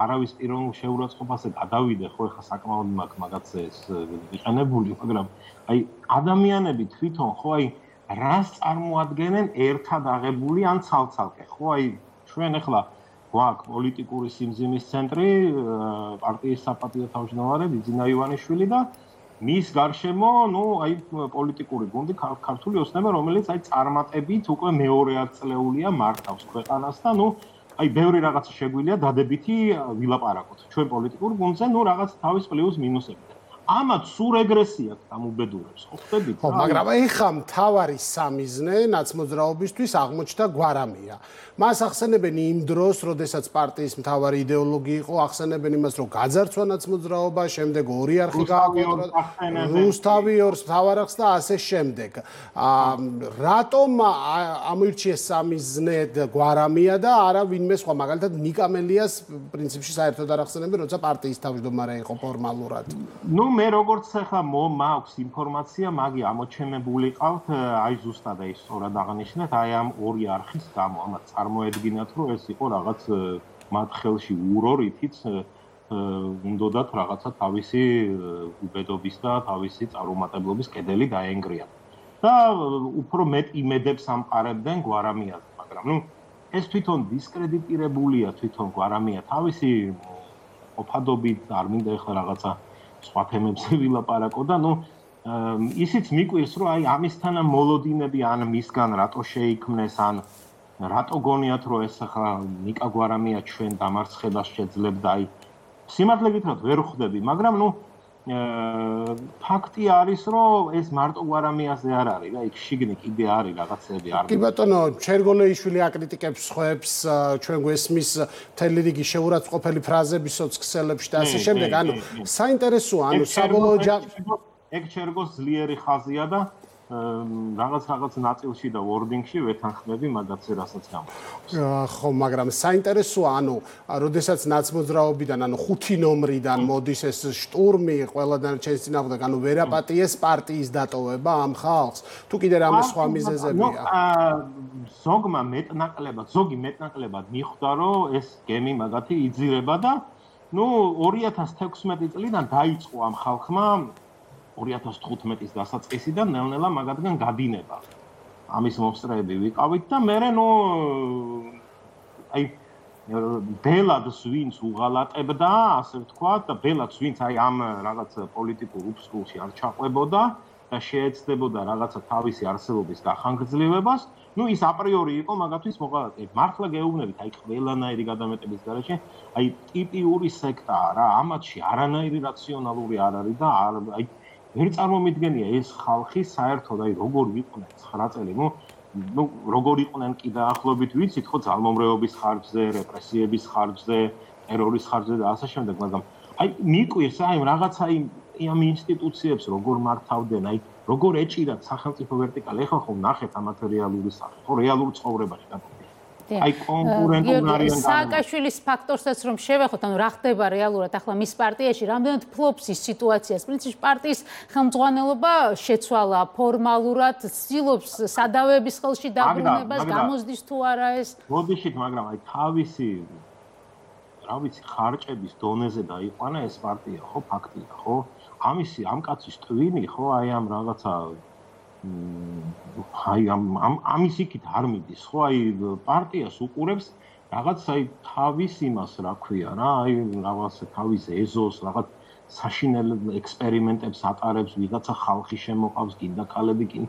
არავის პიროვნულ შეურაცხყოფაზე გადავიდე, ხო ეხლა საკმაოდ მაგაც ეს ვიყენებული, მაგრამ აი ადამიანები თვითონ ხო აი რას წარმოადგენენ ერთად აღებული ან ცალ-ცალკე, ხო აი ჩვენ ეხლა გვაქვს პოლიტიკური სიმძიმის ცენტრი, პარტიის საპატიო თავმჯდომარე ბიძინა ივანიშვილი და მის გარშემო, ნუ აი პოლიტიკური გუნდი ქართული ოცნება, რომელიც აი წარმატებით უკვე მეორე ათწლეულია მართავს ქვეყანას და ნუ აი ბევრი რაღაცა შეგვიძლია დადებითი ვილაპარაკოთ. ჩვენ პოლიტიკურ გუნდზე ნუ რაღაც თავის პლუს მინუსები. ამათ სულ რეგრესია გამუბედურებს, ხო ხდებით? ხო, მაგრამ ეხა მთავარი სამიზნე ნაცმოძრაობისთვის აღმოჩნდა გვარამია. მას ახსენებენ იმ დროს, როდესაც პარტიის მთავარი იდეოლოგი იყო, ახსენებენ იმას, რომ გაძარცვა ნაცმოძრაობა, შემდეგ ორი არხი გააკონტროლა, რუსთავი ორს მთავარახს და ასე შემდეგ. რატომ ამოირჩიეს სამიზნედ გვარამია და არა ვინმე სხვა, მაგალითად ნიკამელიას პრინციპში საერთოდ არ ახსენებენ, როცა პარტიის თავმჯდომარე იყო ფორმალურად. ნუ მე როგორც ახლა მაქვს ინფორმაცია, მაგი ამოჩენებული ყავთ, აი ზუსტად ეს სწორად აღნიშნეთ, აი ამ ორი არხის გამო, ამათ წარმოედგინათ, რომ ეს იყო რაღაც მათ ხელში ურო, რითიც უნდათ რაღაცა თავისი უბედობის და თავისი წარუმატებლობის კედელი დაენგრიათ. და უფრო მეტ იმედებს ამყარებდნენ გვარამიაზე, მაგრამ ნუ ეს თვითონ დისკრედიტირებულია თვითონ გვარამია თავისი ყოფადობით, არ მინდა ეხლა რაღაცა სხვა თემებზე ვილაპარაკო და ნუ ისიც მიკვირს რომ აი ამისთან მოლოდინები ან მისგან რატო შეიქმნეს ან რატო გონიათ რომ ეს ახლა ნიკა გვარამია ჩვენ დამარცხებას შეძლებდა აი სიმართლე გითხრათ ვერ ხვდები მაგრამ ნუ ფაქტი არის რომ ეს მარტო გვარამიაზე არ არის რა იქ შიგნით კიდე არის რაღაცები არ კი ბატონო ჩერგოლეიშვილი აკრიტიკებს ხვებს ჩვენ გვესმის მთელი რიგი შეურაცხყოფელი ფრაზები სოციალებში და ასე შემდეგ ანუ საინტერესოა ანუ საბოლოო ეგ ჩერგოს ძლიერი ხაზია და რაღაც ნაწილში და ვორდინგში ვეთანხმები მაგაც რასაც გამოდის. ხო, მაგრამ საინტერესოა, ანუ, როდესაც ნაცმოძრაობიდან, ანუ 5 ნომრიდან მოდის ეს შტურმი ყველა დანარჩენის წინააღმდეგ, ანუ ვერაპატიეს პარტიის დატოვება ამ ხალხს. თუ კიდე რამე სხვა მიზეზებია. ზოგი მეტნაკლებად მიხვდა, რომ ეს გემი მაგათი იძირება და ნუ 2016 წლიდან დაიწყო ამ ხალხმა 2015-ის დასაწყისიდან ნელ-ნელა მაგათგან გადინება. ამის მომსწრეები ვიყავით და მე ნუ აი ბელადს ვინც უღალატებდა, ასე ვთქვათ, და ბელადს ვინც აი ამ რაღაც პოლიტიკურ უბსკულში არ ჩაყვებოდა და შეეცდებოდა რაღაცა თავისი არსებობის გახანგრძლივებას, ნუ ის აპრიორი იყო მაგათთვის მოღალატე. მართლა გეუბნებით, აი ყველანაირი გადამეტების გარეშე, აი ტიპიური სექტაა რა, ამათში არანაირი რაციონალური არ არის და აი ვერ წარმომიდგენია ეს ხალხი საერთოდ აი როგორ იყვნენ 9 წელი ნუ როგორ იყვნენ კი დაახლოებით ვიცით ხო ძალმომრეობის ხარჯზე, რეპრესიების ხარჯზე, ტერორის ხარჯზე და ასე შემდეგ, მაგრამ აი მიკვირს აი რაღაცა ამ ინსტიტუციებს როგორ მართავდნენ, აი როგორ ეჭირათ სახელმწიფო ვერტიკალი, ეხლა ხო ნახეთ ამ მატერიალური სახე, ხო რეალურ ცხოვრებაში და აი კონკურენტულ არიან სააკაშვილის ფაქტორსაც რომ შევეხოთ, ანუ რა ხდება რეალურად ახლა მის პარტიაში, რამდენად ფლობს ის სიტუაციას. პრინციპში პარტიის ხელმძღვანელობა შეცვალა ფორმალურად, ცდილობს სადავების ხელში დაბრუნებას, გამოსდის თუ არა ეს. მოდიშით, მაგრამ აი თავისი რა ვიცი, ხარჭების დონეზე დაიყვანა ეს პარტია, ხო, ფაქტია, ხო? ამ კაცის ტვინი, ხო, აი ამ რაღაცა აი ამის იქით არ მიდის ხო აი პარტიას უყურებს რაღაც აი თავის იმას რა ქვია რა აი რაღაც თავის ეზოს რაღაც საშინელ ექსპერიმენტებს ატარებს ვიღაცა ხალხი შემოყავს გინდა ქალები კი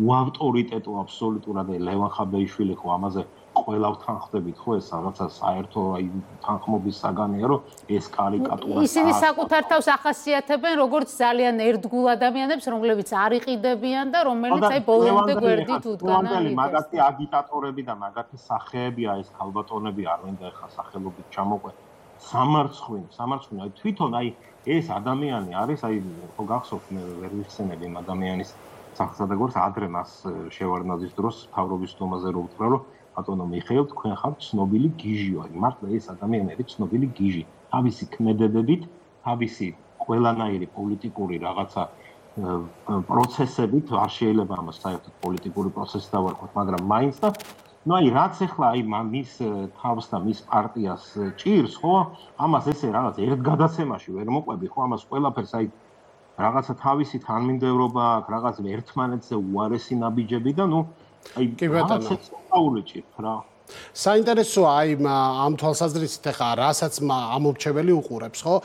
უავტორიტეტო აბსოლუტურად ლევან ხაბეიშვილი ხო ამაზე ყველა ვთანხმდებით ხო ეს რაღაცა საერთო აი თანხმობის საგანია რომ ეს კარიკატურა ისინი საკუთარ თავს ახასიათებენ როგორც ძალიან ერთგულ ადამიანებს რომლებიც არ იყიდებიან და რომელიც აი ბოლომდე გვერდით უდგან მაგათი აგიტატორები და მაგათი სახეებია ეს ქალბატონები არ მინდა ეხლა სახელობით ჩამოყვე სამარცხვინო აი თვითონ აი ეს ადამიანი არის აი ხო გახსოვთ მე ვერ ვიხსენები ამ ადამიანის სახელსა და გვერდს ადრე მას შევარდნაძის დროს თავრობის თომაზე რო უთხრა რომ ბატონო მიხეილ თქვენ ხართ ცნობილი გიჟიო აი მართლა ეს ადამიანები ცნობილი გიჟი თავისი ქმედებებით თავისი ყველანაირი პოლიტიკური რაღაცა პროცესებით არ შეიძლება ამას საერთოდ პოლიტიკური პროცესი დავარქვათ მაგრამ მაინც და ну აი რაც ახლა აი მის თავს და მის პარტიას ჭირს ხო ამას ესე რაღაც ერთ გადაცემაში ვერ მოყვები ხო ამას ყველაფერს აი რაღაცა თავისი თანმიმდევრობა აქვს რაღაც ერთმანეთზე უარესი ნაბიჯები და ну აი რაღაცა სწაული ჭირთ რა საინტერესოა აი ამ თვალსაზრისით ახლა რასაც ამორჩეველი უყურებს ხო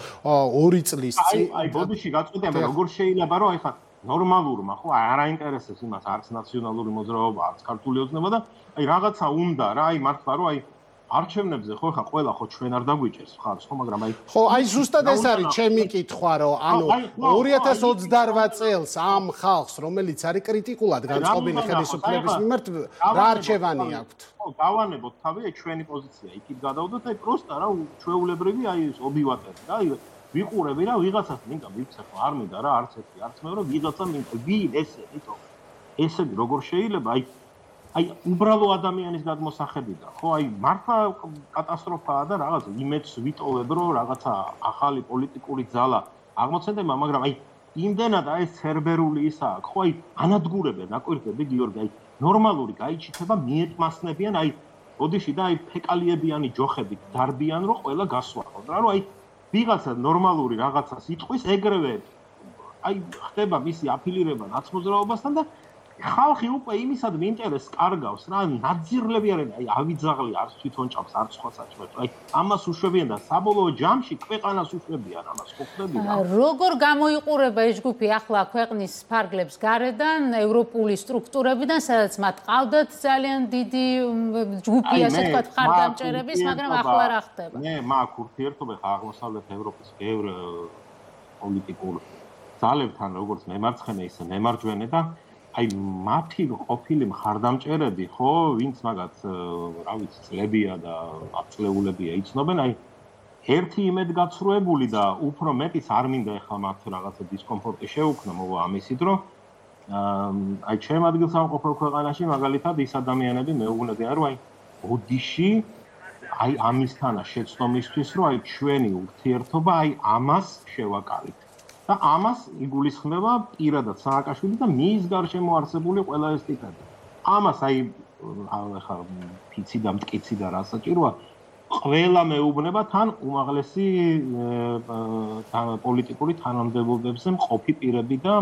2 წლის წინ აი ბოდიში გაწყვეტია როგორ შეიძლება რომ აი ხა ნორმალურმა ხო არ აინტერესებს იმას არც ნაციონალური მოძრაობა არც ქართული ოცნება და აი რაღაცა უნდა რა აი მართლა რომ აი არჩევნებზე ხო ხა ყველა ხო ჩვენ არ დაგვიჭერს ხარს ხო მაგრამ აი ხო აი ზუსტად ეს არის ჩემი კითხვა რომ ანუ 2028 წელს ამ ხალხს რომელიც არის კრიტიკულად განწყობილი ხელისუფლების მიმართ რა არჩევანი აქვთ ხო დავანებოთ თავი ჩვენი პოზიცია იქით გადავდოთ აი პროსტა რა ჩვეულებრივი აი ობივატერი და აი ვიყურები რა ვიღაცას მინდა ვიცი ხო არ მინდა რა არც ერთი არც მეორე ვიღაცა მინდა ვინ ესე იტო ესე როგორ შეიძლება აი უბრალო ადამიანის გადმოსახედიდან ხო აი მართლა კატასტროფაა და რაღაც იმედს ვიტოვებ რომ რაღაცა ახალი პოლიტიკური ძალა აღმოცენდება მაგრამ აი იმდენად აი ცერბერული ისა ხო აი ანადგურებენ აკვირდები გიორგი აი ნორმალური გაიჩიტება მიეტმასნებიან აი ოდიში და აი ფეკალიებიანი ჯოხები დარბიან რომ ყველა გასვახოთ რა რომ აი ვიღაცა ნორმალური რაღაცას იტყვის ეგრევე აი ხდება მისი აფილირება ნაცმოძრაობასთან და ხალხი უკვე იმისად მიინტერესს კარგავს რა ნაძირლები არიან აი ავიძაღლი არც თვითონ ჭამს არც სხვა საჭმელს აი ამას უშვებიან და საბოლოო ჯამში ქვეყანას უშვებიან ამას ხო ხდები რა როგორ გამოიყურება ეს ჯგუფი ახლა ქვეყნის ფარგლებს გარედან ევროპული სტრუქტურებიდან სადაც მათ ყავდათ ძალიან დიდი ჯგუფი ასე ვთქვათ მხარდამჭერების მაგრამ ახლა რა ხდება მე მაქვს ურთიერთობა ხა აღმოსავლეთ ევროპის ბევრ პოლიტიკურ ძალებთან როგორც მემარცხენე ისე მემარჯვენე და აი მათი ყოფილი მხარდამჭერები ხო ვინც მაგათ რა ვიცი წლებია და აწლეულებია იცნობენ აი ერთი იმედგაცრუებული და უფრო მეტიც არ მინდა ახლა მათ რაღაცა დისკომფორტი შეუქმნა მოვა ამისით რომ აი ჩემ ადგილსამყოფელ ქვეყანაში მაგალითად ის ადამიანები მეუბნებიან რომ აი ოდიში აი ამისთანა შეცდომისთვის რომ აი ჩვენი ურთიერთობა აი ამას შევაკალით და ამას იგულისხმება პირადად სააკაშვილი და მის გარშემო არსებული ყველა ეს ტიპები. ამას აი ახლა ფიცი და მტკიცი და რა საჭიროა ყველა მეუბნება თან უმაღლესი პოლიტიკური თანამდებობებზე მყოფი პირები და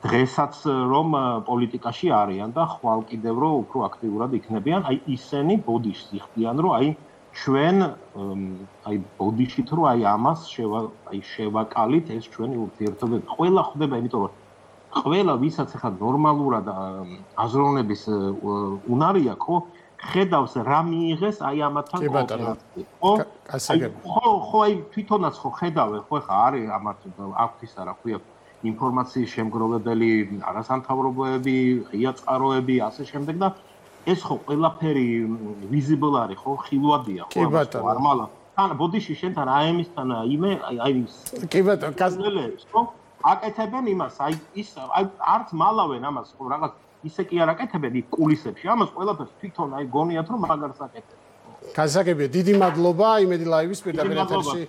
დღესაც რომ პოლიტიკაში არიან და ხვალ კიდევ რომ უფრო აქტიურად იქნებიან, აი ისინი ბოდიშს იხდიან რომ აი ჩვენ აი ბოდიშით რომ აი ამას შევაკალით ეს ჩვენი ურთიერთობები ყველა ხდება იმიტომ რომ ყველა ვისაც ახლა ნორმალურად აზროვნების უნარი აქვს ხო ხედავს რა მიიღეს აი ამათთან კოოპერაცია ხო აი თვითონაც ხო ხედავენ ხო ხა არის ამათ აქვს ისა რა ქვია ინფორმაციის შემგროვებელი არასამთავრობოები ღია წყაროები ასე შემდეგ და ეს ხო ყველაფერი ვიზიბლ არის ხო ხილვადია ხო ნორმალა თან ბოდიში შენთან აემისთან იმე აი კი ბატონო კაზლელებს ხო აკეთებენ იმას აი ის აი არც მალავენ ამას ხო რაღაც ისე კი არ აკეთებენ იქ კულისებში ამას ყველაფერს თვითონ აი გონიათ რომ მაგარს აკეთებენ გასაგებია დიდი მადლობა იმედი ლაივის პირდაპირ ეთერში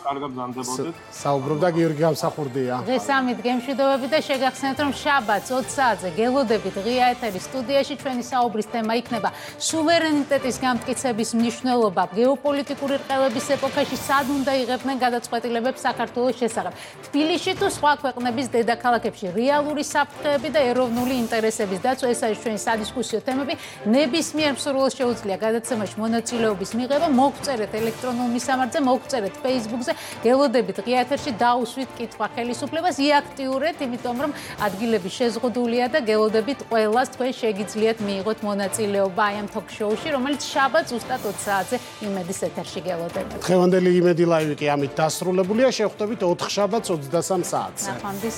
კარგად გზანდებოდეთ საუბრობდა გიორგი გამსახურდია დღეს ამით გემშვიდობები და შეგახსენებთ რომ შაბათს 20 საათზე გელოდებით ღია ეთერის სტუდიაში ჩვენი საუბრის თემა იქნება სუვერენიტეტის გამტკიცების მნიშვნელობა გეოპოლიტიკური რყევების ეპოქაში სად უნდა იღებდნენ გადაწყვეტილებებს საქართველოს შესახებ თბილისში თუ სხვა ქვეყნების დედაქალაქებში რეალური საფრთხეები და ეროვნული ინტერესების დაცვა ეს არის ჩვენი სადისკუსიო თემები ნებისმიერ მსურველს შეუძლია გადაცემაში მონაწილეობის მიღება მოგწერეთ ელექტრონულ მისამართზე მოგწერეთ Facebook-ზე გელოდებით ღია ეთერში დაუსვით კითხვა ხელისუფლებას იაქტიურეთ იმიტომ რომ ადგილები შეზღუდულია და გელოდებით ყველას თქვენ შეგიძლიათ მიიღოთ მონაწილეობა აი ამ თოქ-შოუში რომელიც შაბათს ზუსტად 20 საათზე იმედის ეთერში გელოდებით დღევანდელი იმედი ლაივი კი ამით დასრულებულია შევხვდებით 4 შაბათს 23 საათზე ნახვამდის